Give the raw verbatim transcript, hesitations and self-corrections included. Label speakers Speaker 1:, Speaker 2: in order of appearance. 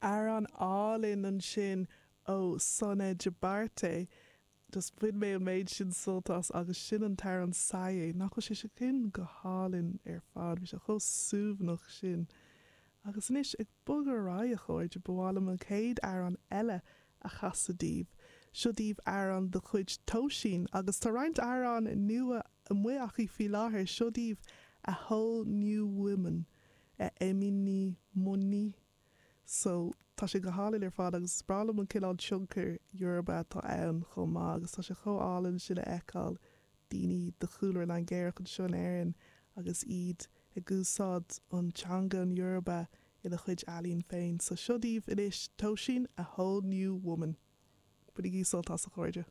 Speaker 1: Amhrán álainn ansin ó Sona Jobarteh. Just bhain mé an méid sin sult as agus sin an t-amhrán Saye, nach bhfuil sé sin go hálainn ar fad, bhí sé chomh suaimhneach sin. Agus anois ag bogadh ar aghaidh a chairde ba mhaith liom an chéad amhrán eile a chasadh daoibh. Seo daoibh amhrán de chuid Tóisín agus tá roinnt amhrán nua amuigh aici faoi láthair seo daoibh a whole new woman Èmi ni mo ní. So tá sé go hálainn ar fad agus is breá liom an cineál tionchar Yoruba atá ann chomh maith agus tá sé chomh álainn sin a fheiceáil daoine de chúlra Nigéarach anseo in Éirinn agus iad ag úsáid an teanga an Yoruba ina chuid ealaín féin. So seo daoibh anois Tóisín a whole new woman. Bainigí sult as a chairde.